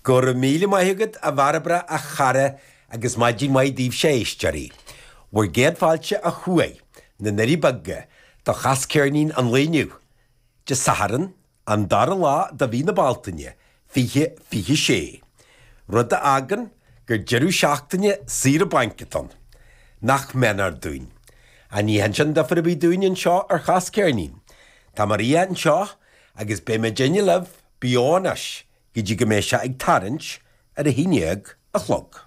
Go raibh míle maith agat a Bhairbre a chara agus maidin mhaith daoibhse a éisteoirí. Bhur gcéad fáilte ó thuaidh, na nDoirí Beaga, do Chas Ceirnín an lae inniu, Dé Sathairn, an dara lá de mhí na Bealtaine, 2026. Rud a fhágann gur deireadh seachtaine saoire bainc atá ann. Nach méanar dúinn. Ach ní dhéanann sin difear ar bith dúinn anseo ar Chas Ceirnín. Tá Maria anseo agus beidh muidinne libh beo anois go dtí go mbeidh sé ag tarraingt ar a haon dhéag a chlog.